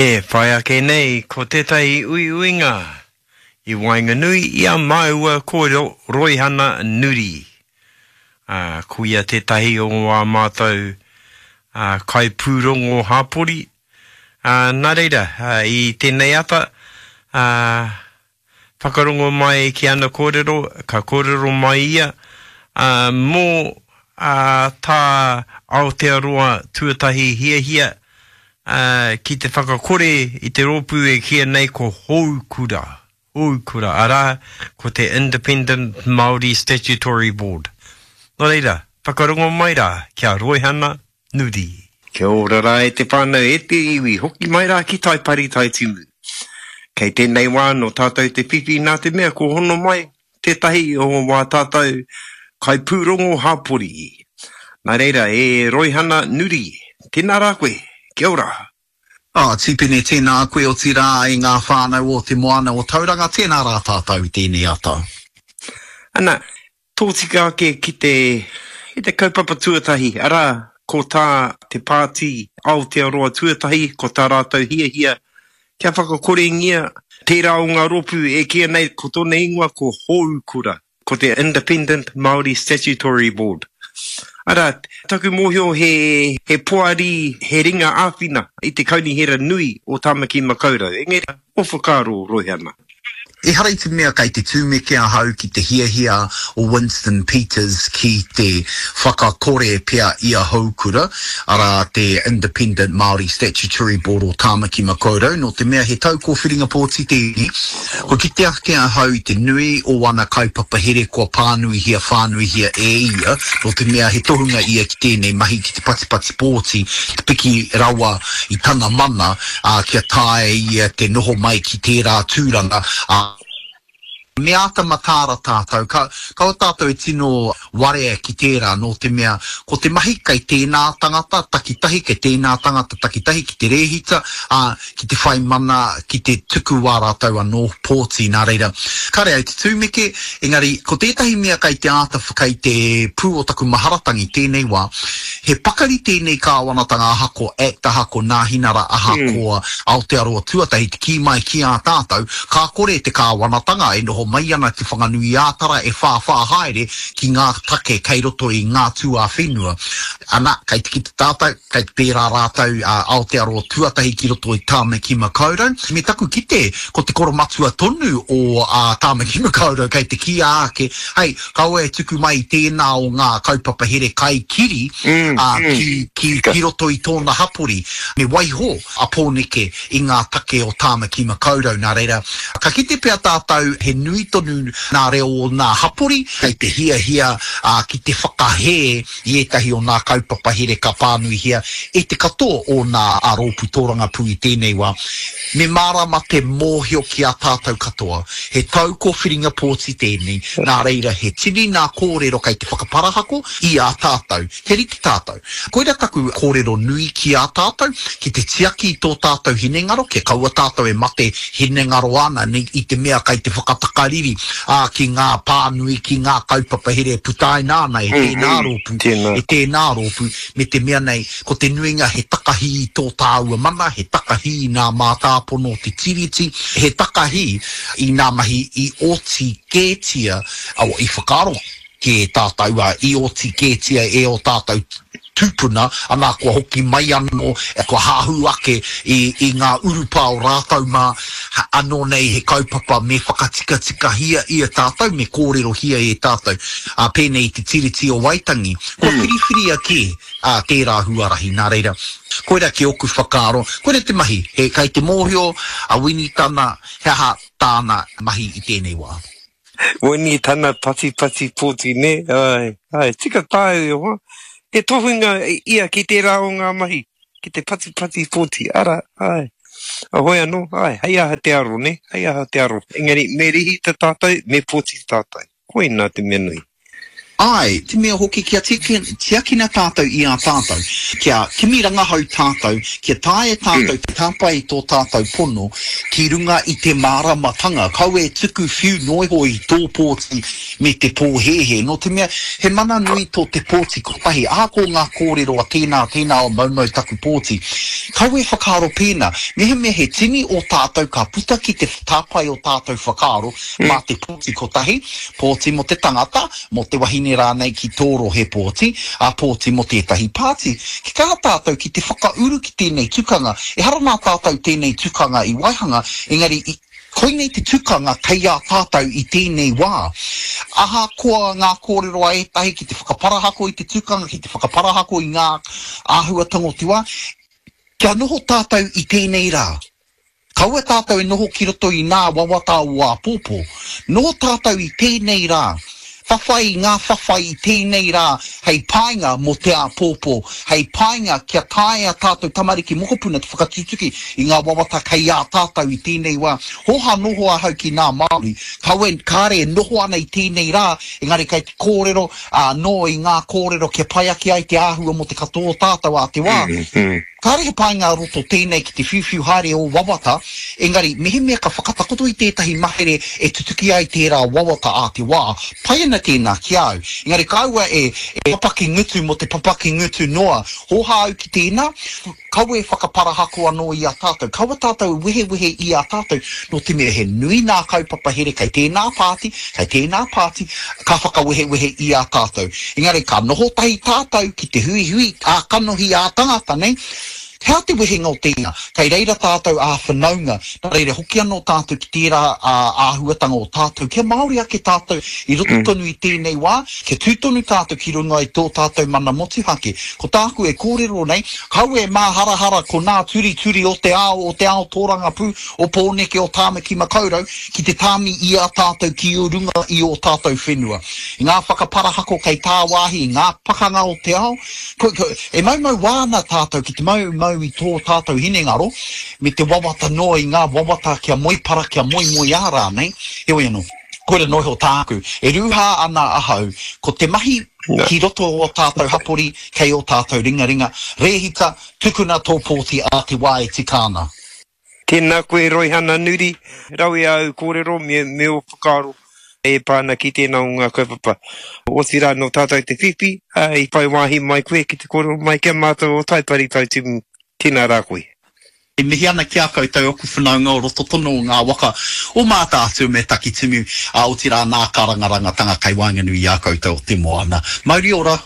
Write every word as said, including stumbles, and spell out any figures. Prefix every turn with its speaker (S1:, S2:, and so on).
S1: E whai ake nei ko tētahi uiuinga i waenganui i a māua ko Roihana Nuri. Ā, ko ia tētahi o ā mātou ā, kaipūrongo hāpori. Ā, nā reira, ā, i tēnei ata, ā, whakarongo mai ki ana kōrero, ka kōrero mai ia, ā, mō ā, tā Aotearoa Tuatahi hiahia, ā, ki te whakakore i te rōpū e kīia nei ko Houkura, Houkura, arā, ko te Independent Māori Statutory Board. Nō reira, whakarongo mai rā ki a Roihana Nuri. Kia ora rā e te whānau, e te iwi, hoki mai rā ki Taipari Taitimu. Kei tēnei wā nō tātou te whiwhi nā te mea kua hono mai tētahi o wā tātou kaipūrongo hāpori. Nā reira, e Roihana Nuri, tēnā rā koe, kia ora.
S2: Oh, Tipene, tēnā koe otirā i ngā whānau o te moana o Tauranga, tēnā rā tātou i tēnei ata.
S1: Ana, tōtika ake ki te, ki te kaupapa tuatahi, arā, ko tā te pāti Aotearoa Tuatahi, ko tā rātou hiahia kia whakakorengia tērā o ngā rōpū e kīia nei ko tōna ingoa ko Houkura, ko te Independent Māori Statutory Board. Arā, taku mōhio he, he poari, he ringa āwhina i te kaunihera nui o Tāmaki Makaurau. Engari, ō whakaaro, Roihana?
S2: Ehara i te mea kei te tumeke ahau ki te hiahia o Winston Peters ki te whakakore pea i a Houkura, arā te Independent Māori Statutory Board o Tāmaki Makaurau, nō te mea he tau kōwhiringa pōti tēnei. Kua kite ake ahau i te nui o ana kaupapa here kua pānuihia whānuihia e ia, nō te mea he tohunga ia ki tēnei mahi ki te patipati pōti, te piki rawa i tana mana, ā, kia taea ia te noho mai ki tērā tūranga, ā, me āta mataara tātou, ka, kaua tātou e tino warea ki tērā, nō te mea, ko te mahi kei tēnā tangata takitahi, kei tēnā tangata takitahi ki te rēhita, ā, ki te whai mana, ki te tuku wā rātou anō pōti, nā reira, kāre au te tumeke, engari, ko tētahi mea kei te āta, kei te pū o taku maharatangi tēnei wā, he pakari tēnei kāwanatanga ahakoa Act, ahakoa Nāhinara, ahakoa Aotearoa Tuatahi te kī mai ki a tātou, ka kore te kāwanatanga e noho mai ana Te Whanganui-ā-Tara e whāwhā haere ki ngā take kei roto i ngā tuawhenua. Ana, kei te kite tātou, kei te pērā rātou a Aotearoa Tuatahi ki roto i Tāmaki Makaurau. Me taku kite, ko te koromatua tonu o Tāmaki Makaurau kei te kīia ake, hei, kaua e tuku mai i tēnā o ngā kaupapa here kai kiri ki, ki, ki roto i tōna hapori. Me waiho a Pōneke i ngā take o Tāmaki Makaurau. Nā reira, ka kite pea tātou he nui tonu nā reo o nā hapori kei te hiahia ki te whakahē i ētahi o nā kaupapa here ka pānuihia e te katoa o nā rōpū tōrangapū i tēnei wā. Me mārama te mōhio ki a tātou katoa, he tau kōwhiringa pōti tēnei, nā reira he tini nā kōrero kei te whakaparahako i a tātou, kia rite tātou. Koira taku kōrero nui ki a tātou, ki te tiaki i tō tātou hinengaro, kia kaua tātou e mate hinengaro ana i te mea kei te whakatakariri, ā, ki ngā pānui, ki ngā kaupapa here e putaina ana e tēnā rōpū, e tēnā rōpū, me te mea nei, ko te nuinga he takahi i tō tāua mana, he takahi i nā mātāpono o te Tiriti, he takahi i nā mahi i oti kētia, i whakaaro kē tātou, ā, i oti kētia e ō tātou tūpuna, anā, kua hoki mai anō, kua hahū ake i, i ngā urupā o rātou mā, anō nei he kaupapa me whakatikatikahia ia tātou, me kōrerohia e tātou, ā, pēnei i te Tiriti o Waitangi, kua whiriwhiria kē, ā, tērā huarahi, nā reira, koirā ki ōku whakaaro, koirā te mahi, he, kei te mōhio a Winitana he aha tāna mahi i tēnei wā.
S1: Winitana patipati pōti, nē? Āe, āe, tika tāu e hoa. He tohunga ia ki tērā o ngā mahi, ki te patipati pōti, arā, āe. Heoi anō, āe, hei aha te aro, nē? Hei aha te aro. Engari, me rihita tātou, me pōti tātou. Koinā te mea nui.
S2: Āe, te mea hoki kia tiakina tātou i a tātou, kia kimi rangahau tātou, kia taea tātou te tāpae i tō tātou pono ki runga i te māramatanga, kaua e tuku whiu noa iho i tō pōti me te pōhēhē, nō te mea he mana nui tō te pōti kotahi, ahakoa ngā kōrero a tēnā, tēnā o maumau taku pōti, kaua e whakaaro pēnā, mehemea he tini o tātou ka puta ki te tāpae o tātou whakaaro mā te pōti kotahi, pōti mō te tangata, mō te wahine rānei ki tō rohe pōti, ā, pōti mō tētahi pāti. Ki kaha tātou ki te whakauru ki tēnei tukanga, ehara nā tātou tēnei tukanga i waihanga, engari i, koinei te tukanga kei a tātou i tēnei wā. Ahakoa ngā kōrero a ētahi ki te whakaparahako i te tukanga, ki te whakaparahako i ngā āhuatanga o te wā, kia noho tātou i tēnei rā. Kaua tātou e noho ki roto i nā wawata o āpōpō. Noho tātou i tēnei rā. Whawhai i ngā whawhai i tēnei rā hei painga mō te āpōpō, hei painga kia taea tātou tamariki mokopuna te whakatutuki i ngā wawata kei a tātou i tēnei wā. Hōhā noho ahau ki nā Māori, kaua kāre e noho ana i tēnei rā, engari kei te kōrero anō i ngā kōrero kia pai ake ai te āhua mō te katoa o tātou ā te wā. Kāre he painga roto tēnei ki te whiuwhiu haere o wawata, engari mehemea ka whakatakoto i tētahi mahere e tutuki ai tērā wawata ā te wā, pai ana tēnā ki a au. Engari kaua e, e papaki ngutu mō te papaki ngutu noa. Hōhā au ki tēnā, kaua e whakaparahako anō i a tātou, kaua tātou e wehewehe i a tātou, nō te mea he nui nā kaupapa here kei tēnā pāti, kei tēnā pāti, ka whakawehewehe i a tātou. Engari ka noho tahi tātou ki te huihui ā-kanohi ā-tangata nei, he aha te wehenga o tēnā? Kei reira tātou ā-whanaunga, nā reira hoki anō tātou ki tērā āhuatanga o tātou, kia Māori ake tātou i roto tonu i tēnei wā, kia tū tonu tātou ki runga i tō tātou mana motuhake. Ko tāku e kōrero nei, kaua e māharahara ko nā turituri o te ao, o te ao tōrangapū, o Pōneke, o Tāmaki Makaurau, ki te tāmi i a tātou ki runga i ō tātou whenua. I ngā whakaparahako kei tāwāhi, i ngā pakanga o te ao, ko, ko, e maumau wā ana tātou ki te maumau i tō tātou hinengaro, me te wawata noa i ngā wawata kia moepara, kia moemoeā rānei, heoi anō, koira noa iho tāku. E rūhā ana ahau, ko te mahi ki roto o ō tātou hapori, kei ō tātou ringaringa, rēhita, tukuna tō pōti ā te wā e tika ana.
S1: Tēnā koe Roihana Nuri, rawe āu kōrero me, me ō whakaaro e pā ana ki tēnā o ngā kaupapa. Otirā nō tātou te whiwhi, ā, i whai wāhi mai koe ki te kōrero mai ki a mātou o Taipari Tautimu. Tēnā rā koe.
S2: E mihi ana ki a koutou oku whanaunga o roto tonu o ngā waka o Mātaatua me Takitimu, ā, otirā nā karangarangatanga kei waenganui i a koutou o te moana. Mauri ora!